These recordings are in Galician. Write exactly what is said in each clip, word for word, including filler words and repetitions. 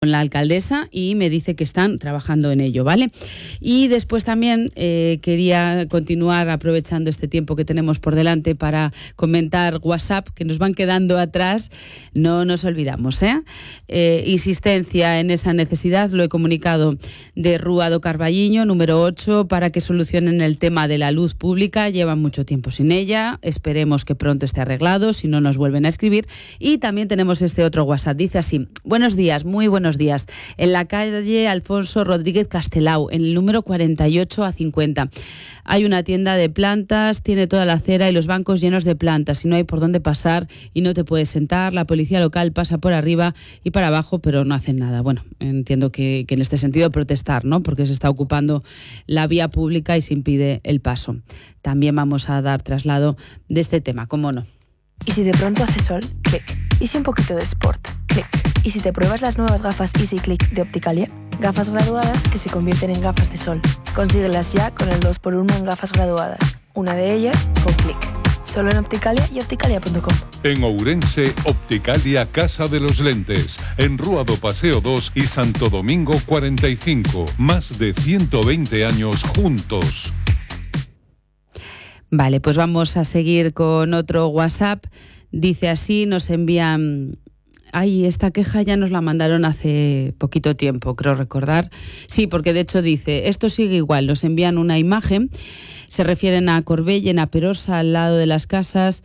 con la alcaldesa y me dice que están trabajando en ello, ¿vale? Y después también eh, quería continuar aprovechando este tiempo que tenemos por delante para comentar WhatsApp, que nos van quedando atrás, no nos olvidamos, ¿eh? Eh, insistencia en esa necesidad, lo he comunicado, de Rúa do Carballiño, número ocho, para que solucionen el tema de la luz pública. Llevan mucho tiempo sin ella, esperemos que pronto esté arreglado, si no nos vuelven a escribir. Y también tenemos este otro WhatsApp, dice así: buenos días, muy buenos días. En la calle Alfonso Rodríguez Castelao, en el número cuarenta y ocho a cincuenta. Hay una tienda de plantas, tiene toda la acera y los bancos llenos de plantas y no hay por dónde pasar y no te puedes sentar. La policía local pasa por arriba y para abajo, pero no hacen nada. Bueno, entiendo que, que en este sentido protestar, ¿no? Porque se está ocupando la vía pública y se impide el paso. También vamos a dar traslado de este tema, ¿cómo no? Y si de pronto hace sol, clic. Y si un poquito de sport, clic. Y si te pruebas las nuevas gafas Easy Click de Opticalia, gafas graduadas que se convierten en gafas de sol. Consíguelas ya con el dos por uno en gafas graduadas. Una de ellas con clic. Solo en Opticalia y opticalia punto com. En Ourense, Opticalia Casa de los Lentes. En Rúa do Paseo dos y Santo Domingo cuarenta y cinco. Más de ciento veinte años juntos. Vale, pues vamos a seguir con otro WhatsApp. Dice así, nos envían... Ay, esta queja ya nos la mandaron hace poquito tiempo, creo recordar. Sí, porque de hecho dice, esto sigue igual, nos envían una imagen, se refieren a Corbellen, a Perosa, al lado de las casas.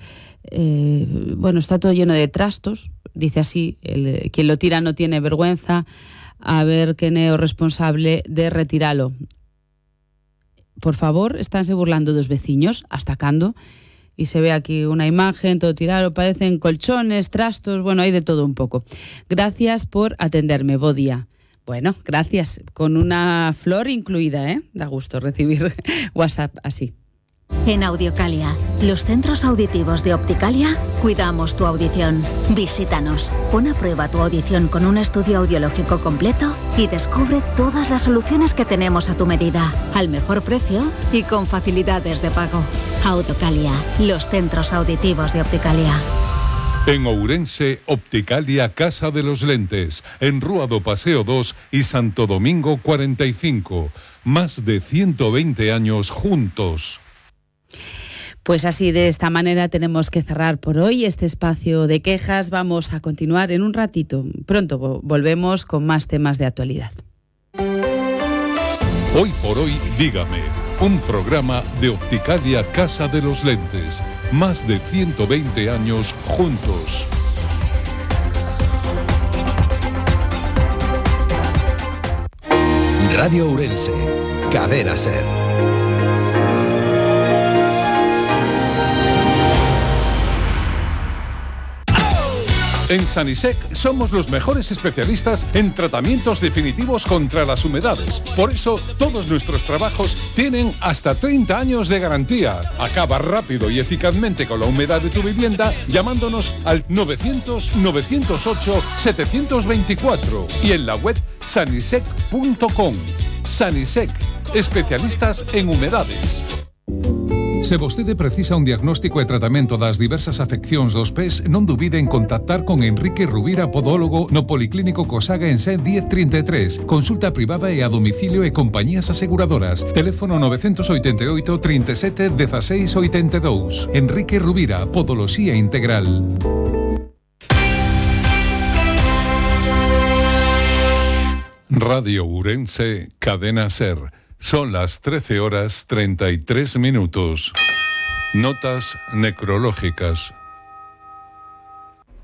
Eh, bueno, está todo lleno de trastos, dice así, el, quien lo tira no tiene vergüenza, a ver quién es responsable de retirarlo. Por favor, estánse burlando dos veciños, hasta cando. Y se ve aquí una imagen, todo tirado, parecen colchones, trastos, bueno, hay de todo un poco. Gracias por atenderme, bo día. Bueno, gracias, con una flor incluida, ¿eh? Da gusto recibir WhatsApp así. En Audiocalia, los centros auditivos de Opticalia, cuidamos tu audición. Visítanos, pon a prueba tu audición con un estudio audiológico completo y descubre todas las soluciones que tenemos a tu medida, al mejor precio y con facilidades de pago. Audiocalia, los centros auditivos de Opticalia. En Ourense, Opticalia Casa de los Lentes. En Rúa do Paseo dos y Santo Domingo cuarenta y cinco. Más de ciento veinte años juntos. Pues así, de esta manera tenemos que cerrar por hoy este espacio de quejas. Vamos a continuar en un ratito. Pronto volvemos con más temas de actualidad. Hoy por hoy, dígame, un programa de Opticalia Casa de los Lentes. Más de ciento veinte años juntos. Radio Ourense, Cadena Ser. En Sanisec somos los mejores especialistas en tratamientos definitivos contra las humedades. Por eso, todos nuestros trabajos tienen hasta treinta años de garantía. Acaba rápido y eficazmente con la humedad de tu vivienda llamándonos al novecientos, novecientos ocho, setecientos veinticuatro y en la web sanisec punto com. Sanisec, especialistas en humedades. Se vostede precisa un diagnóstico e tratamento das diversas afeccións dos pés, non dubide en contactar con Enrique Rubira, podólogo, no Policlínico Cosaga en Sen diez treinta e tres. Consulta privada e a domicilio e compañías aseguradoras. Teléfono novecientos oitenta e oito, trinta e sete, dieciséis oitenta e dous. Enrique Rubira, Podoloxía Integral. Radio Ourense, Cadena Ser. Son las trece horas treinta y tres minutos. Notas necrológicas.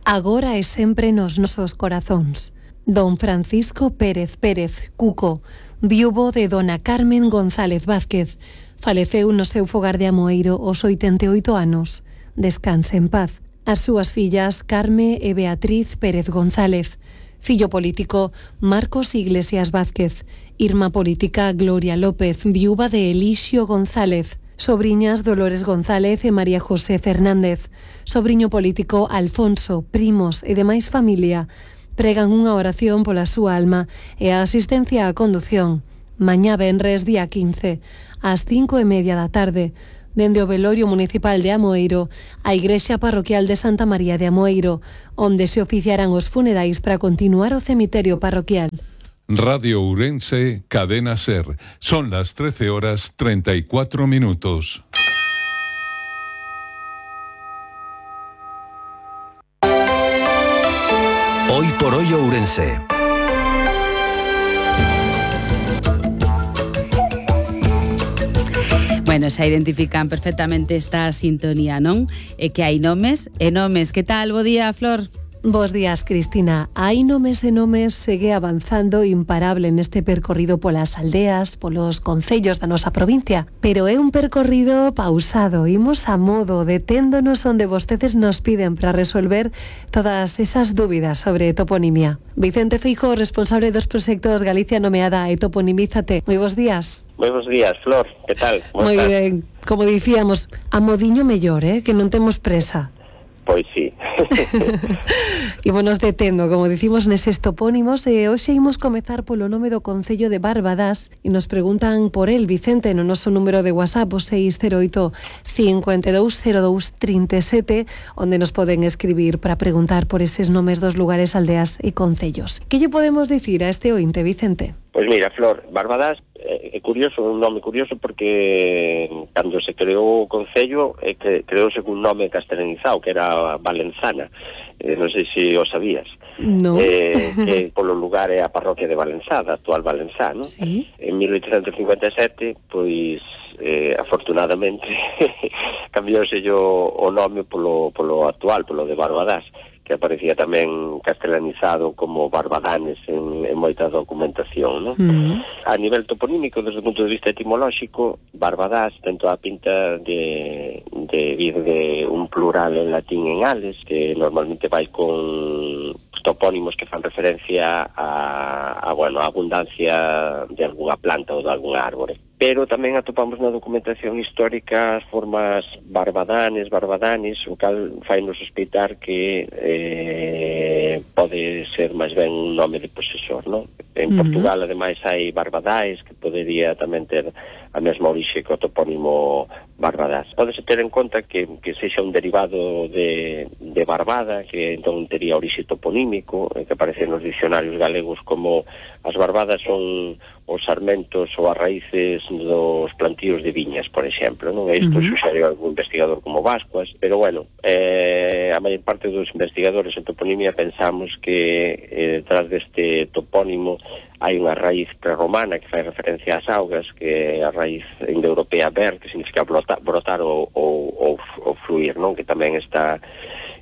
Agora e sempre nos nosos corazóns. Don Francisco Pérez Pérez, Cuco, viúvo de dona Carmen González Vázquez, faleceu no seu fogar de Amoeiro aos oitenta e oito anos. Descanse en paz. As súas fillas Carme e Beatriz Pérez González. Fillo político Marcos Iglesias Vázquez. Irma política Gloria López, viúva de Elixio González. Sobriñas Dolores González e María José Fernández. Sobriño político Alfonso, primos e demais familia pregan unha oración pola súa alma e a asistencia á condución. Mañá venres día quince, ás cinco e media da tarde, dende o velorio municipal de Amoeiro á igrexa parroquial de Santa María de Amoeiro, onde se oficiarán os funerais para continuar o cemiterio parroquial. Radio Ourense, Cadena SER. Son las trece horas treinta y cuatro minutos. Hoy por hoy Ourense. Bueno, se identifican perfectamente esta sintonía, non? E que hai nomes e nomes. Que tal? Bo día, Flor. Bos días, Cristina. Hai nomes e nomes segue avanzando imparable neste percorrido polas aldeas, polos concellos da nosa provincia. Pero é un percorrido pausado, imos a modo, deténdonos onde vostedes nos piden para resolver todas esas dúbidas sobre toponimia. Vicente Feijóo, responsable dos proxectos Galicia Nomeada e Toponimízate. Moi bos días. Moi bos días, Flor. Que tal? Moi ben. Como dicíamos, a modiño mellor, eh? Que non temos presa. Pois sí. Ímonos detendo, como dicimos neses topónimos, e hoxe imos comezar polo nome do concello de Barbadás e nos preguntan por el, Vicente, no noso número de WhatsApp, o seis cero oito, cinco dous cero dous, trinta e sete, onde nos poden escribir para preguntar por eses nomes dos lugares, aldeas e concellos. Que lle podemos dicir a este ointe, Vicente? Pois mira, Flor, Barbadás é curioso, un nome curioso porque cando se creou o concello é que creouse un nome castelanizado que era Valenzana, eh, non sei se o sabías. No. Eh, que polo lugar é a parroquia de Valenzada, actual Valenzá, non? Sí. En mil oitocentos cincuenta e sete, pois eh, afortunadamente cambiouse o, o nome polo, polo actual, polo de Barbadás, que aparecía tamén castelanizado como Barbadanes en, en moita documentación, non? Uh-huh. A nivel toponímico, desde o punto de vista etimolóxico, Barbadás ten toda a pinta de, de vir de un plural en latín en ales, que normalmente vai con topónimos que fan referencia a, a, bueno, a abundancia de algunha planta ou de algunha árbore. Pero tamén atopamos na documentación histórica as formas barbadanes, barbadanes, o cal fai-nos sospeitar que eh, pode ser máis ben un nome de posesor, non? En uh-huh. Portugal, ademais, hai Barbadais, que podería tamén ter a mesma orixe que o topónimo Barbadás. Pódese ter en conta que, que sexa un derivado de, de Barbada, que entón tería orixe toponímico, que aparece nos dicionarios galegos como as barbadas son os sarmentos ou as raíces dos plantíos de viñas, por exemplo, non? Isto uh-huh. suxere algún investigador como Vascuas, pero bueno, eh, a maior parte dos investigadores en toponimia pensamos que eh, detrás deste topónimo hai unha raíz prerromana que fai referencia ás augas, que é a raíz indoeuropea ver, que significa brotar, brotar ou, ou, ou, ou fluir, non? Que tamén está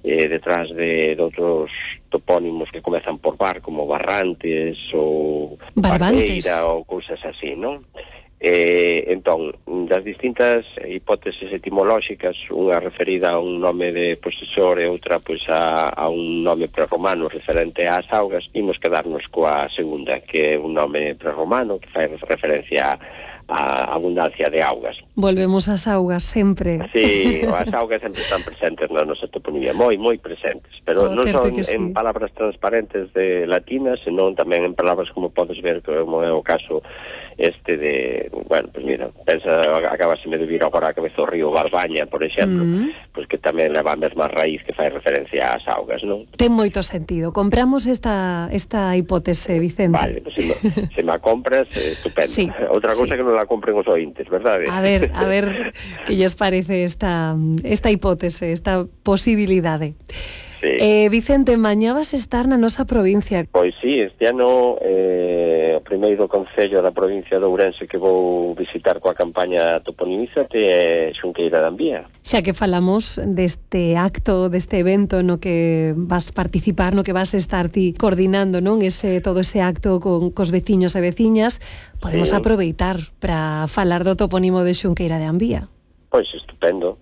eh, detrás de, de outros topónimos que comezan por bar, como Barrantes ou Barbantes Barbeira ou cousas así, non? Eh, entón, das distintas hipóteses etimolóxicas, unha referida a un nome de posesor e outra pois a, a un nome prerromano referente ás augas, imos quedarnos coa segunda, que é un nome prerromano que fai referencia a abundancia de augas. Volvemos ás augas sempre. Sí, as augas sempre están presentes na nosa toponimia, moi, moi presentes, pero oh, non son en sí. palabras transparentes de latinas, senón tamén en palabras como podes ver, como é o caso este de, bueno, pues mira, pensa, acabaseme de vir agora a cabeza o río Barbaña, por exemplo, mm. pues que tamén leva a mesma raíz que fai referencia ás augas, non? Ten moito sentido. Compramos esta esta hipótese, Vicente. Vale, pues se, me, se me a compras, eh, estupendo. Sí, outra cousa sí. que non la compren os ointes, verdade? A ver, a ver que lles parece esta esta hipótese, esta posibilidade. Sí. Eh, Vicente, mañá vas estar na nosa provincia. Pois sí, este ano eh, o primeiro concello da provincia de Ourense que vou visitar coa campaña Toponimízate é Xunqueira de Ambía. Xa que falamos deste acto, deste evento no que vas participar, no que vas estar ti coordinando, non? Ese, todo ese acto con cos veciños e veciñas, podemos sí. aproveitar para falar do topónimo de Xunqueira de Ambía. Pois estupendo.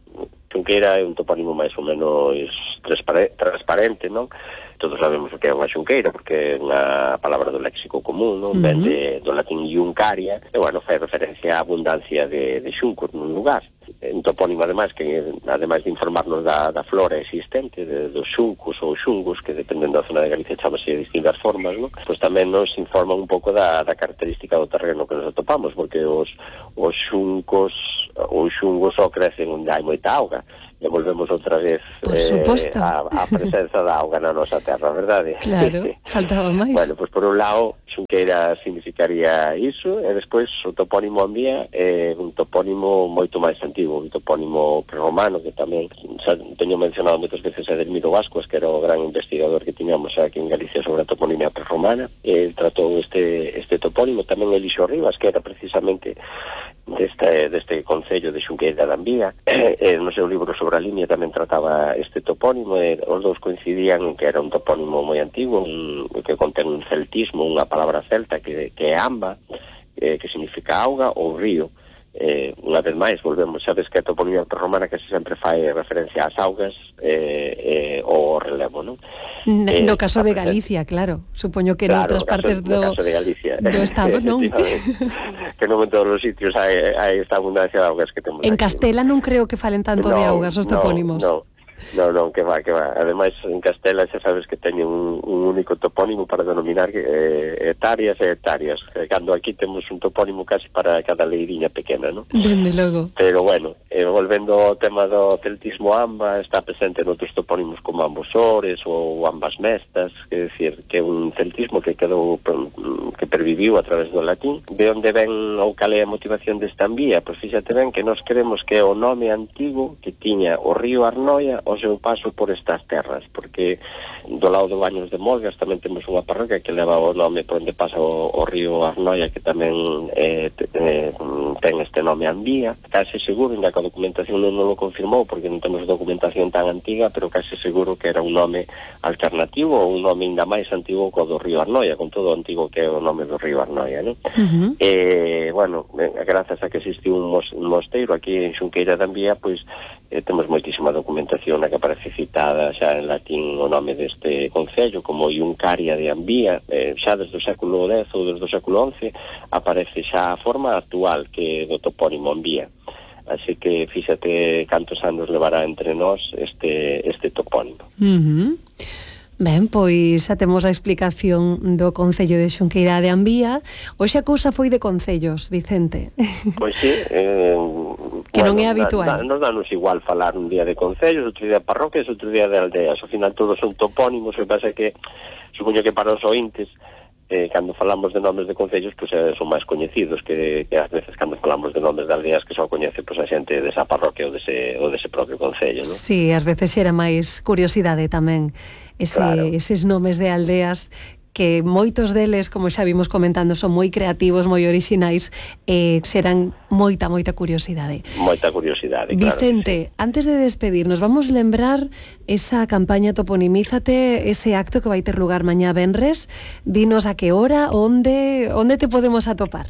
Xunqueira é un topónimo máis ou menos transparente, non? Todos sabemos o que é unha xunqueira, porque é unha palabra do léxico común, non? Uh-huh. Ven de, do latín iuncaria, e, bueno, fai referencia á abundancia de, de xuncos nun lugar. un topónimo ademais que ademais de informarnos da, da flora existente, de, dos xuncos ou xungos, que dependendo da zona de Galicia chamase de distintas formas, ¿no? Pois tamén nos informa un pouco da, da característica do terreno que nos atopamos, porque os, os xuncos ou xungos só crecen onde hai moita auga, e volvemos outra vez eh, a, a presenza da auga na nosa terra, verdade? Claro, faltaba máis. Bueno, pois por un lado, xunqueira significaría iso, e despois o topónimo Ambía é un topónimo moito máis antigo, un topónimo prerromano, que tamén xa teño mencionado moitas veces a Edelmiro Vascuas, que era o gran investigador que tiñamos aquí en Galicia sobre a toponimia prerromana. Ele tratou este, este topónimo, tamén Elixo Rivas, que era precisamente deste, deste concello de Xunqueira de Ambía, e no seu libro sobre a línea tamén trataba este topónimo, e os dous coincidían en que era un topónimo moi antigo, un, que contén un celtismo, unha palabra celta que, que é amba, eh, que significa auga ou río. Eh, unha vez máis, volvemos, sabes que a toponimia prerromana que sempre fai referencia ás augas eh, eh, ou ao relevo, non? No, eh, no caso de Galicia, claro, supoño que claro, noutras partes do, do, caso de Galicia, do Estado, non? Que non en todos os sitios hai, hai esta abundancia de augas que temos en aquí. Castela non creo que falen tanto no, de augas os topónimos. No, no. Non, non, que va, que va. Ademais, en Castela xa sabes que teñen un, un único topónimo para denominar eh, hectáreas e hectáreas. Eh, cando aquí temos un topónimo casi para cada leiriña pequena, non? Dende logo. Pero bueno, eh, volvendo ao tema do celtismo amba, está presente noutros topónimos como Ambosores ou Ambas Mestas, que é dicir, que é un celtismo que quedou, que perviviu a través do latín. De onde ven ou cal é a motivación desta Ambía? Pois fíxate ben que nós queremos que é o nome antigo que tiña o río Arnoia o seu paso por estas terras, porque do lado do Baños de Molgas tamén temos unha parroquia que leva o nome por onde pasa o, o río Arnoia, que tamén eh, te, eh, ten este nome Ambía. Case seguro, ainda que a documentación non lo confirmou, porque non temos documentación tan antiga, pero case seguro que era un nome alternativo ou un nome ainda máis antigo co do río Arnoia, con todo o antigo que é o nome do río Arnoia, non? Uh-huh. Eh, bueno, grazas a que existiu un, mos, un mosteiro aquí en Xunqueira de Ambía, pois eh, temos moitísima documentación na que aparece citada xa en latín o nome deste concello como Iuncaria de Ambía. Eh, xa desde o século dez ou desde o século once aparece xa a forma actual que do topónimo Ambía. Así que fíxate cantos anos levará entre nós este, este topónimo. Uh-huh. Ben, pois xa temos a explicación do Concello de Xunqueira de Ambía. Hoxe a cousa foi de concellos, Vicente. Pois sí, eh, que bueno, non é habitual. Da, da, nos danos igual falar un día de concellos, outro día de parroquias, outro día de aldeas. Ao final todos son topónimos, o que pasa que supoño que para os ointes eh, cando falamos de nomes de concellos pois pues, eh, son máis coñecidos que, que ás veces cando falamos de nomes de aldeas que só coñece pois, pues, a xente desa parroquia ou dese, ou dese propio concello, non? Sí, ás veces era máis curiosidade tamén ese, claro. Eses nomes de aldeas que moitos deles, como xa vimos comentando, son moi creativos, moi orixinais, e eh, serán moita, moita curiosidade. Moita curiosidade, Vicente, claro sí. Antes de despedirnos, vamos lembrar esa campaña Toponimízate, ese acto que vai ter lugar mañá venres. Dinos a que hora, onde, onde te podemos atopar?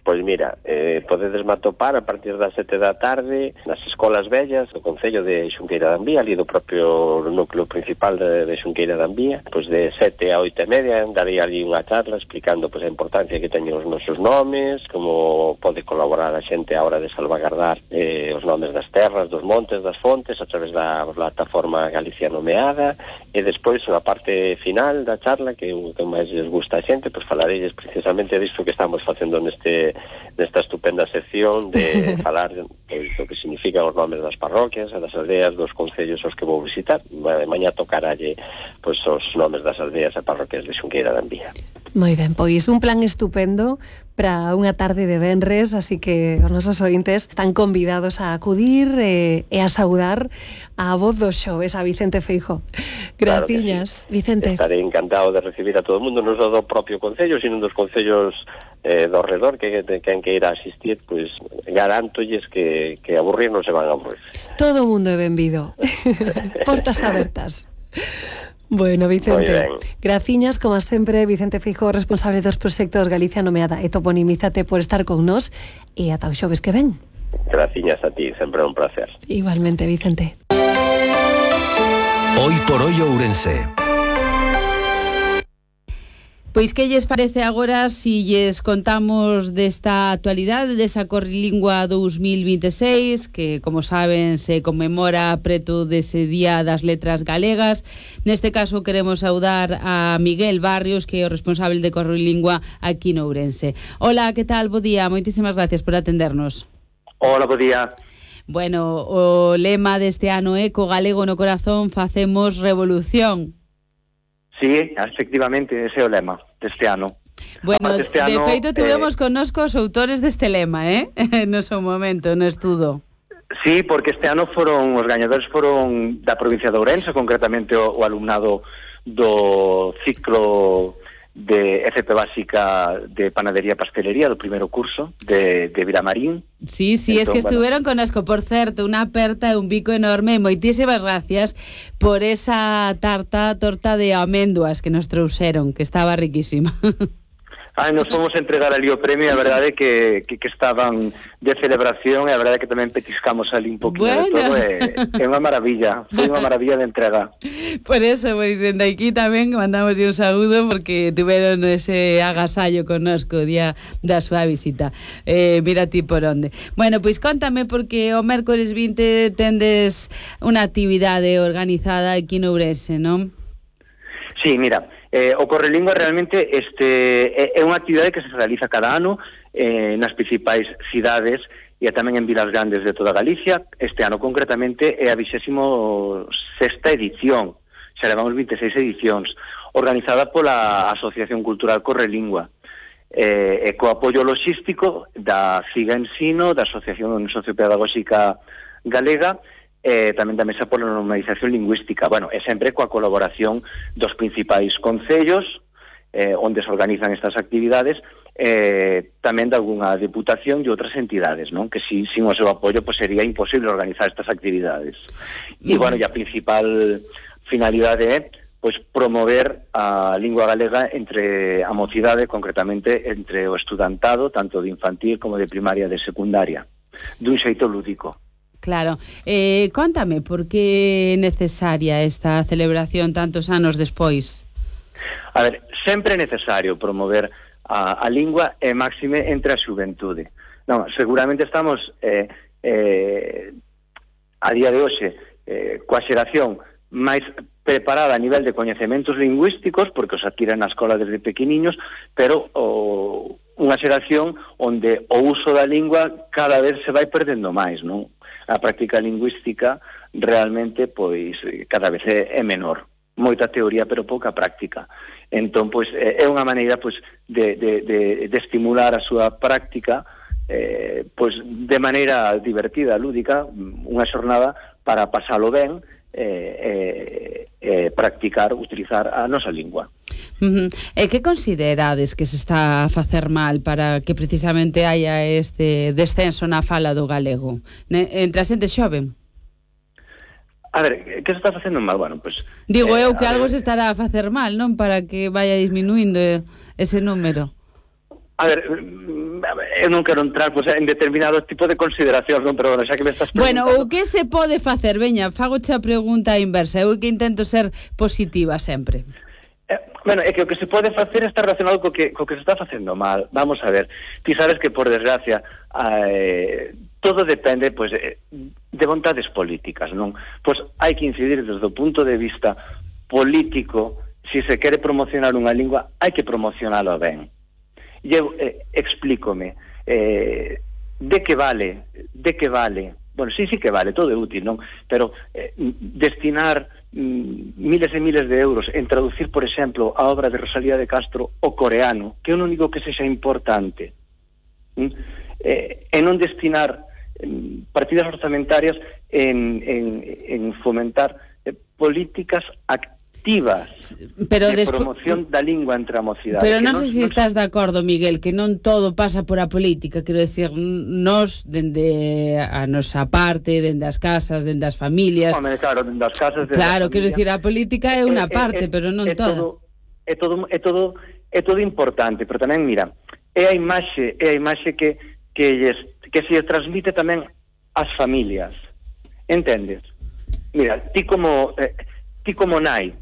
Pois mira, eh, podedes matopar a partir das sete da tarde nas escolas vellas do Concello de Xunqueira de Ambía, ali do propio núcleo principal de, de Xunqueira de Ambía. Pois de sete a oito e media daría ali unha charla explicando pois, a importancia que teñen os nosos nomes, como pode colaborar a xente a hora de salvagardar eh, os nomes das terras, dos montes, das fontes, a través da plataforma Galicia Nomeada. E despois, na parte final da charla, que o que máis les gusta a xente, pois falarelles precisamente disto que estamos facendo neste nesta estupenda sección de falar pois, do que significan os nomes das parroquias e das aldeas dos concellos aos que vou visitar. Mañá tocaralle pois, os nomes das aldeas e parroquias de Xunqueira de Ambía. Moi ben, pois un plan estupendo para unha tarde de venres, así que os nosos ointes están convidados a acudir e, e a saudar a voz dos xoves, a Vicente Feijóo. Graciñas, claro sí. Vicente. Estaré encantado de recibir a todo o mundo, non só do propio concello, sino dos concellos eh, do redor que quen que irá asistir, pois pues, garantolles que, que aburrir non se van a aburrir. Todo o mundo é benvido. Portas abertas. Bueno, Vicente, graciñas, como sempre, Vicente Feijóo, responsable dos proxectos Galicia Nomeada e Toponimízate, por estar con nós e ata o xoves que ven. Graciñas a ti, sempre un placer. Igualmente, Vicente. Hoy por hoy Ourense. Pois que lles parece agora si lles contamos desta actualidade desa Corrilingua dous mil vinte e seis, que, como saben, se conmemora preto dese Día das Letras Galegas. Neste caso queremos saudar a Miguel Barrios, que é o responsable de Corrilingua aquí no Ourense. Hola, que tal? Bo día, moitísimas gracias por atendernos. Hola, bo día. Bueno, o lema deste ano é Co galego no corazón facemos revolución. Sí, efectivamente, ese é o lema deste ano. Bueno, este de ano, feito, tivemos eh, connosco os autores deste lema, eh? No seu momento, no estudo. Sí, porque este ano foron, os gañadores foron da provincia de Ourense, concretamente o, o alumnado do ciclo de F P básica de panadería e pastelería do primeiro curso de, de Vilamarín. Sí, sí, entón, es que estuveron bueno. Connosco, por certo, unha aperta e un bico enorme. Moitísimas gracias por esa tarta, torta de amendoas que nos trouxeron, que estaba riquísima. Ai, nos fomos a entregar ali o premio, a verdade que, que, que estaban de celebración, e a verdade que tamén petiscamos ali un poquinho bueno. de todo, é, é unha maravilla, foi unha maravilla de entrega. Por eso, pois, dende aquí tamén mandamos un saúdo, porque tiveron ese agasallo connosco o día da súa visita. Eh, mira ti por onde. Bueno, pois contame, porque o mércores vinte tendes unha actividade organizada aquí no Ourense, non? Sí, mira, Eh, o Corrilingua realmente este é, é unha actividade que se realiza cada ano eh, nas principais cidades e tamén en vilas grandes de toda Galicia. Este ano concretamente é a vigésimo sexta edición, xa levamos vinte e seis edicións, organizada pola Asociación Cultural Corrilingua, eh, e co apoio logístico da CIGA Ensino, da Asociación Sociopedagóxica Galega, eh, tamén da Mesa pola Normalización Lingüística. Bueno, é sempre coa colaboración dos principais concellos eh, onde se organizan estas actividades, eh, tamén de algunha deputación e outras entidades, non? Que si, sin o seu apoio pues, sería imposible organizar estas actividades. E, bueno, e a principal finalidade é pois promover a lingua galega entre a mocidade, concretamente entre o estudantado, tanto de infantil como de primaria e de secundaria, dun xeito lúdico. Claro. Eh, contame, por que é necesaria esta celebración tantos anos despois? A ver, sempre é necesario promover a, a lingua e máxime entre a xuventude. Non, seguramente estamos eh, eh, a día de hoxe eh, coa xeración máis preparada a nivel de coñecementos lingüísticos, porque os adquiren na escola desde pequeniños, pero o, unha xeración onde o uso da lingua cada vez se vai perdendo máis, non? A práctica lingüística realmente pois cada vez é, é menor. Moita teoría, pero pouca práctica. Entón, pois, é unha maneira pois, de, de, de, de estimular a súa práctica eh, pois, de maneira divertida, lúdica, unha xornada para pasalo ben eh, eh, eh, practicar, utilizar a nosa lingua. Uh-huh. E que considerades que se está a facer mal para que precisamente haya este descenso na fala do galego entre a xente xoven? A ver, que se está facendo mal? Bueno, pues, digo eh, eu que algo ver, se estará a facer mal, non? Para que vaya disminuindo ese número. A ver, eu non quero entrar pues, en determinado tipo de consideracións, non? Pero bueno, xa que me estás preguntando... Bueno, o que se pode facer? Veña, fagoche a pregunta inversa. Eu que intento ser positiva sempre. Eh, bueno, é que o que se pode facer está relacionado co que, co que se está facendo mal. Vamos a ver, ti sabes que por desgracia eh, todo depende pues, de vontades políticas, non? Pois hai que incidir desde o punto de vista político. Se se quere promocionar unha lingua, hai que promocionalo ben. E eu eh, explícome eh, de que vale, de que vale, bueno, sí, sí que vale, todo é útil, non? Pero eh, destinar mm, miles e miles de euros en traducir, por exemplo, a obra de Rosalía de Castro ao coreano, que é o único que sexa importante, mm? eh, e non destinar mm, partidas orzamentarias en, en, en fomentar eh, políticas activas pero de despo... promoción da lingua entre a mocidade. Pero non sei se non... estás de acordo, Miguel, que non todo pasa por a política. Quero decir, nós, dende a nosa parte, dende as casas, dende as familias... Home, claro, dende as casas... Claro, quero decir, a política é unha parte, é, é, pero non é toda. Todo, é, todo, é, todo, é todo importante, pero tamén, mira, é a imaxe, é a imaxe que, que, lles, que se transmite tamén ás familias. Entendes? Mira, ti como, eh, ti como nai,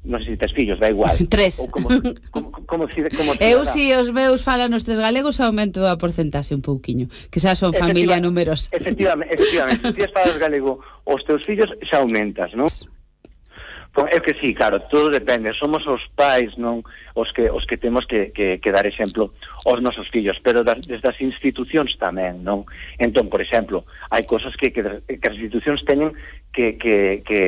non sei se tes fillos, da igual. Tres. Ou como, como, como, como eu, si os meus falan os tres galegos, aumento a porcentaxe un pouquiño, que xa son familia numerosa. Efectivamente, efectivamente, se ti falas galego os teus fillos, xa aumentas, non? É que sí, claro, todo depende. Somos os pais, non, os que os que temos que, que, que dar exemplo aos nosos fillos, pero das, desde as institucións tamén, non? Entón, por exemplo, hai cosas que, que, que as institucións teñen que, que, que,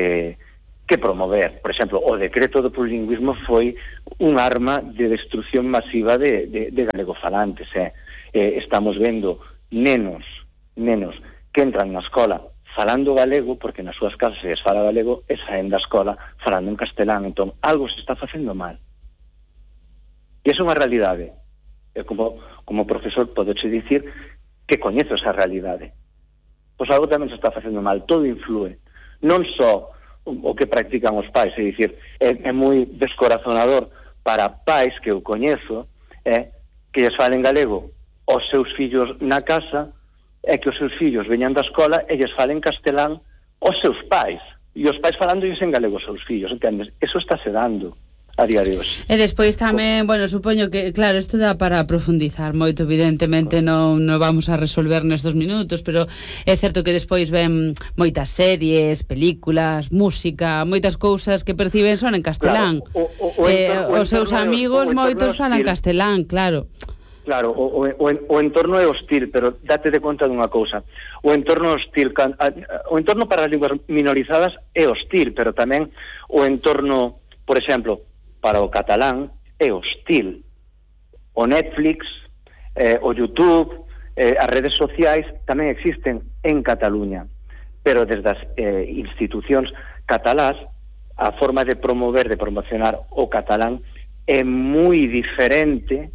que promover. Por exemplo, o decreto do plurilingüismo foi un arma de destrucción masiva de, de, de galegofalantes, eh? Eh, estamos vendo nenos, nenos que entran na escola falando galego, porque nas súas casas se fala galego, e saen da escola falando en castelán. Entón, algo se está facendo mal. E é unha realidade. E como, como profesor podeche dicir que coñezo esa realidade. Pois algo tamén se está facendo mal. Todo influe. Non só o que practican os pais, é dicir, é, é moi descorazonador para pais que eu coñezo, é, que lles falen galego aos seus fillos na casa, é que os seus fillos veñan da escola e lles falen castelán aos seus pais, e os pais falándoles en galego aos seus fillos, entendes? Eso está se dando a día de hoxe. E despois tamén, bueno, supoño que, claro, isto dá para profundizar moito, evidentemente non, non vamos a resolver nestes minutos, pero é certo que despois ven moitas series, películas, música, moitas cousas que perciben son en castelán. Claro, o, o, o eh, entorno, os seus amigos moitos falan castelán, claro. Claro, o, o, o entorno é hostil, pero date de conta dunha cousa. O entorno hostil, o entorno para as linguas minorizadas é hostil, pero tamén o entorno, por exemplo, para o catalán é hostil. O Netflix, eh, o YouTube, eh, as redes sociais tamén existen en Cataluña, pero desde as eh, institucións catalás a forma de promover, de promocionar o catalán é moi diferente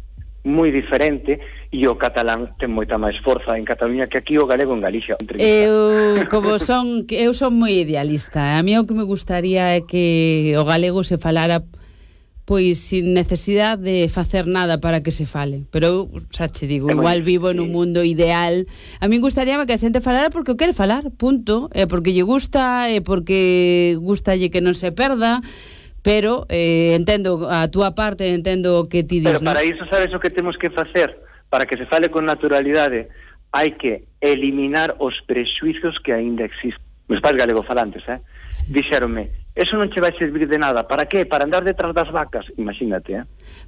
moi diferente, e o catalán ten moita máis forza en Cataluña que aquí o galego en Galicia. Eu, como son, eu son moi idealista. A mí o que me gustaría é que o galego se falara pois sin necesidade de facer nada para que se fale. Pero eu, xa che digo, igual vivo en un mundo ideal. A mí gustaríame que a xente falara porque o quere falar, punto. É porque lle gusta, é porque gustalle que non se perda. Pero eh, entendo a túa parte, entendo o que ti dis, pero para ¿no? iso sabes o que temos que facer para que se fale con naturalidade. Hai que eliminar os prexuizos que aínda existen. Meus pais galegofalantes, eh? Sí. Dixéronme, eso non che vai servir de nada. Para qué? Para andar detrás das vacas. Imagínate, eh?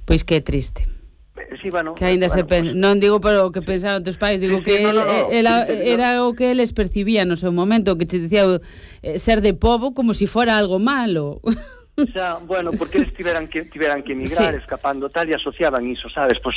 Pois que triste. Sí, bueno, que aínda bueno, se pensa, pues, non digo para o que pensaron teus pais, digo sí, que sí, no, no, no, el, el, sí, sí, era no. O que eles percibían no seu momento, que te dicía eh, ser de pobo como si fora algo malo. Xa, bueno, porque eles tiveran que tiveran que emigrar, sí, escapando tal, e asociaban iso, sabes? Pois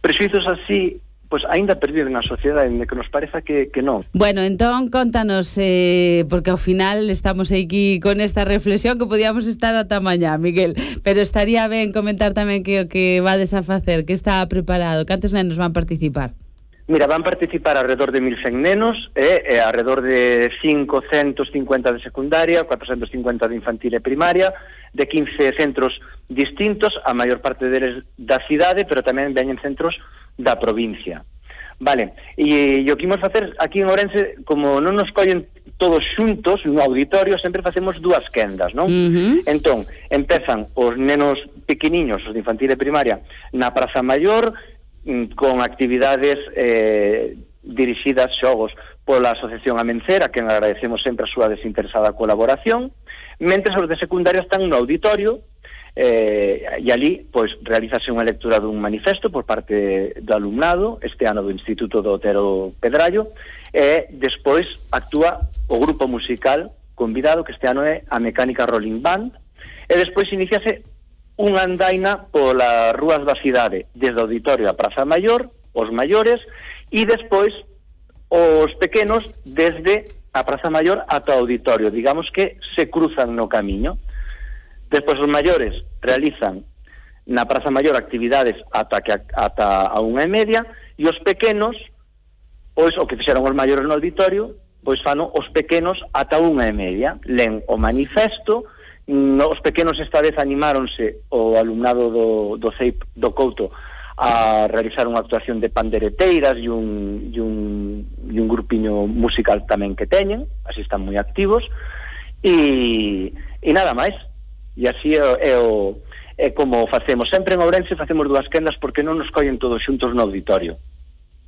prexuizos así, pois aínda perdido na sociedade, que nos pareza que, que non. Bueno, entón, contanos, eh, porque ao final estamos aquí con esta reflexión que podíamos estar ata mañá, Miguel, pero estaría ben comentar tamén que o que vades a facer, que está preparado, cantos nenos van participar? Mira, van participar alrededor de mil cen nenos, eh, eh, alrededor de quinhentos cincuenta de secundaria, cuatrocentos cincuenta de infantil e primaria, de quince centros distintos, a maior parte deles da cidade, pero tamén veñen centros da provincia. Vale, e, e o que imos facer aquí en Ourense, como non nos collen todos xuntos no auditorio, sempre facemos dúas quendas, non? Uh-huh. Entón, empezan os nenos pequeniños, os de infantil e primaria, na Praza Maior, con actividades eh, dirixidas, xogos, pola Asociación Amencera, que agradecemos sempre a súa desinteresada colaboración, mentres os de secundaria están no auditorio, eh, e ali pois realizase unha lectura dun manifesto por parte do alumnado, este ano do Instituto do Otero Pedrallo, e despois actúa o grupo musical convidado, que este ano é a Mecánica Rolling Band, e despois iniciase unha andaina polas rúas da cidade, desde o auditorio a Praza Maior, os maiores, e despois os pequenos desde a Praza Maior ata o auditorio, digamos que se cruzan no camiño. Despois os maiores realizan na Praza Maior actividades ata que ata a unha e media, e os pequenos, pois o que fixeron os maiores no auditorio, pois fano os pequenos ata unha e media, len o manifesto. No, os pequenos esta vez animáronse o alumnado do, do C E I P do Couto a realizar unha actuación de pandereteiras e un, e un, e un grupiño musical tamén que teñen, así están moi activos, e, e nada máis. E así é, é, o, é como facemos. Sempre en Ourense facemos dúas quendas porque non nos collen todos xuntos no auditorio.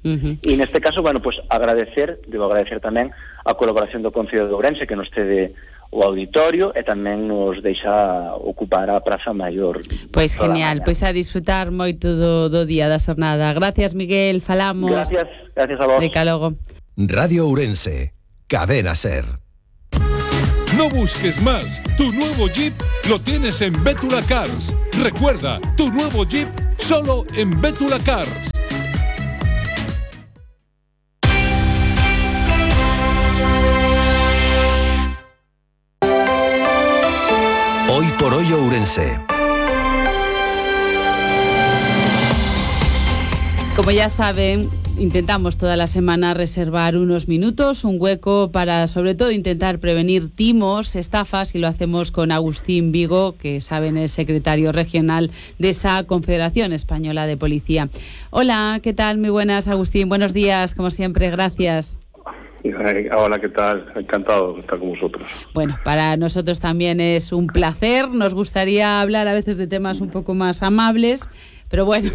Uh-huh. E neste caso, bueno, pues agradecer, debo agradecer tamén a colaboración do Concello de Ourense que nos cede o auditorio e tamén nos deixa ocupar a Praza Maior. Pois genial, pois a disfrutar moito do, do día da xornada. Gracias, Miguel, falamos. Gracias, gracias a vos. Deca logo. Radio Ourense, Cadena Ser. No busques más, tu nuevo Jeep lo tienes en Bétula Cars. Recuerda, tu nuevo Jeep solo en Bétula Cars. Hoy por hoy Ourense. Como ya saben, intentamos toda la semana reservar unos minutos, un hueco para sobre todo intentar prevenir timos, estafas, y lo hacemos con Agustín Vigo, que saben es secretario regional de esa Confederación Española de Policía. Hola, ¿qué tal? Muy buenas, Agustín. Buenos días, como siempre, gracias. Hola, ¿qué tal? Encantado de estar con vosotros. Bueno, para nosotros también es un placer. Nos gustaría hablar a veces de temas un poco más amables, pero bueno,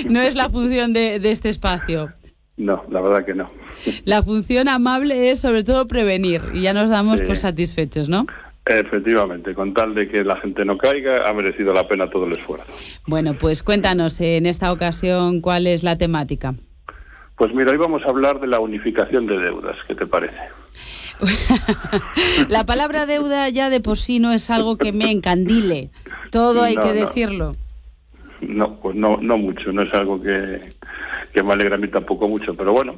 no es la función de, de este espacio. No, la verdad que no. La función amable es sobre todo prevenir y ya nos damos sí. por satisfechos, ¿no? Efectivamente, con tal de que la gente no caiga, ha merecido la pena todo el esfuerzo. Bueno, pues cuéntanos en esta ocasión cuál es la temática. Pues mira, hoy vamos a hablar de la unificación de deudas, ¿qué te parece? La palabra deuda ya de por sí no es algo que me encandile, todo hay no, que no. decirlo. No, pues no, no mucho, no es algo que, que me alegra a mí tampoco mucho, pero bueno,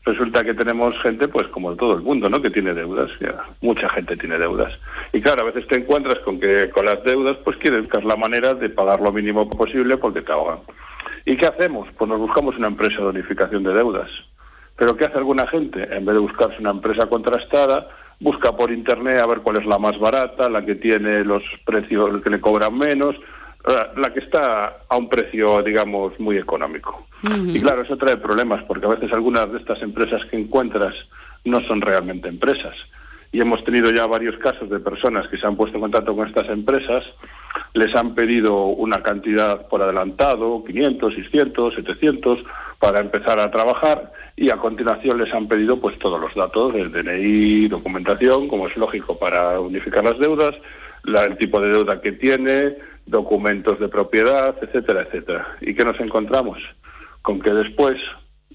resulta que tenemos gente, pues como todo el mundo, ¿no?, que tiene deudas, ya, mucha gente tiene deudas. Y claro, a veces te encuentras con que con las deudas, pues quieres buscar la manera de pagar lo mínimo posible porque te ahogan. ¿Y qué hacemos? Pues nos buscamos una empresa de unificación de deudas. ¿Pero qué hace alguna gente? En vez de buscarse una empresa contrastada, busca por internet a ver cuál es la más barata, la que tiene los precios que le cobran menos, la que está a un precio, digamos, muy económico. Uh-huh. Y claro, eso trae problemas, porque a veces algunas de estas empresas que encuentras no son realmente empresas. Y hemos tenido ya varios casos de personas que se han puesto en contacto con estas empresas, les han pedido una cantidad por adelantado, quinientos, seiscientos, setecientos, para empezar a trabajar, y a continuación les han pedido pues todos los datos, el D N I, documentación, como es lógico para unificar las deudas, la, el tipo de deuda que tiene, documentos de propiedad, etcétera, etcétera. ¿Y qué nos encontramos? Con que después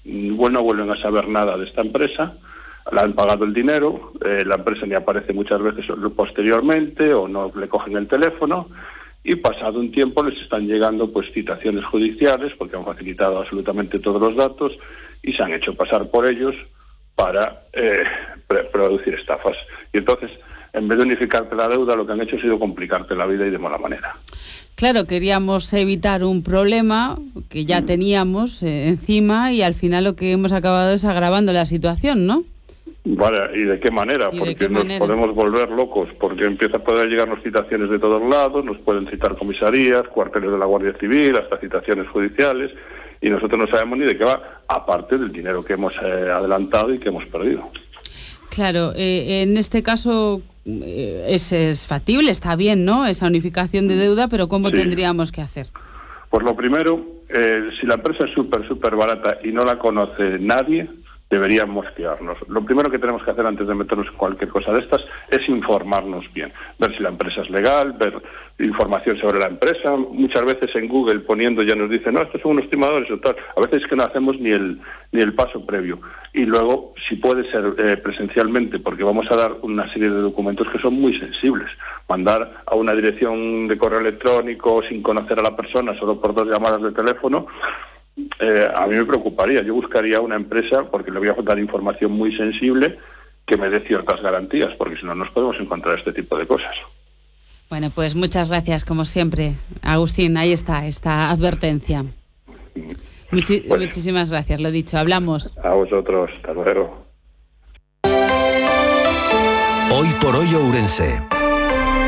bueno, no vuelven a saber nada de esta empresa, le han pagado el dinero, eh, la empresa ni aparece muchas veces posteriormente o no le cogen el teléfono, y pasado un tiempo les están llegando pues citaciones judiciales porque han facilitado absolutamente todos los datos y se han hecho pasar por ellos para eh, producir estafas. Y entonces, en vez de unificarte la deuda, lo que han hecho ha sido complicarte la vida y de mala manera. Claro, queríamos evitar un problema que ya teníamos eh, encima, y al final lo que hemos acabado es agravando la situación, ¿no? Vale, ¿y de qué manera? ¿Y porque qué nos manera? podemos volver locos, porque empieza a poder llegarnos citaciones de todos lados, nos pueden citar comisarías, cuarteles de la Guardia Civil, hasta citaciones judiciales, y nosotros no sabemos ni de qué va, aparte del dinero que hemos eh, adelantado y que hemos perdido. Claro, eh, en este caso eh, es, es factible, está bien, ¿no?, esa unificación de deuda, pero ¿cómo sí. tendríamos que hacer? Pues lo primero, eh, si la empresa es súper, súper barata y no la conoce nadie, deberíamos fiarnos. Lo primero que tenemos que hacer antes de meternos en cualquier cosa de estas es informarnos bien, ver si la empresa es legal, ver información sobre la empresa. Muchas veces en Google poniendo ya nos dicen, no, estos son unos timadores o tal. A veces es que no hacemos ni el ni el paso previo. Y luego, si puede ser eh, presencialmente, porque vamos a dar una serie de documentos que son muy sensibles. Mandar a una dirección de correo electrónico sin conocer a la persona, solo por dos llamadas de teléfono, Eh, a mí me preocuparía. Yo buscaría una empresa, porque le voy a dar información muy sensible, que me dé ciertas garantías, porque si no nos podemos encontrar este tipo de cosas. Bueno, pues muchas gracias, como siempre, Agustín. Ahí está, esta advertencia. Muchi- pues, muchísimas gracias, lo dicho, hablamos. A vosotros, hasta luego. Hoy por hoy Ourense.